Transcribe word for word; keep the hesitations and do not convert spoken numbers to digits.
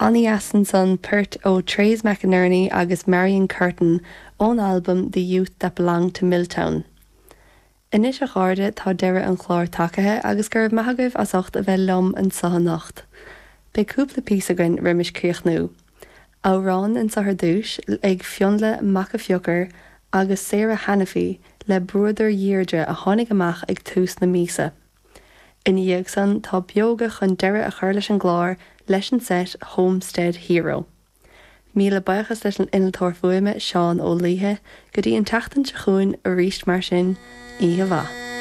An-dheas ansan port ó Trace McInerney agus Marion Curtin ón albam The Youth That Belong to Milltown. Anois a chairde tá deireadh an chláir tagaithe agus go raibh maith agaibh as ucht a bheith liom anseo anocht. Beidh cúpla píosa againn roimis críochnú. Amhrán anseo ar dtús ag Fionnlagh Mac a' Phiocair agus Sarah Hanafy le Bruadar Dheirdre a tháinig amach ag tús na míosa. Ina dhiaidh san tá Beoga chun deireadh a chur leis an gclár leis an set Homestead Hero. Míle buíochas leis an innealtóir fuaime Seán Ó Laoithe go dtí an tseachtain seo chugainn arís mar sin oíche mhaith.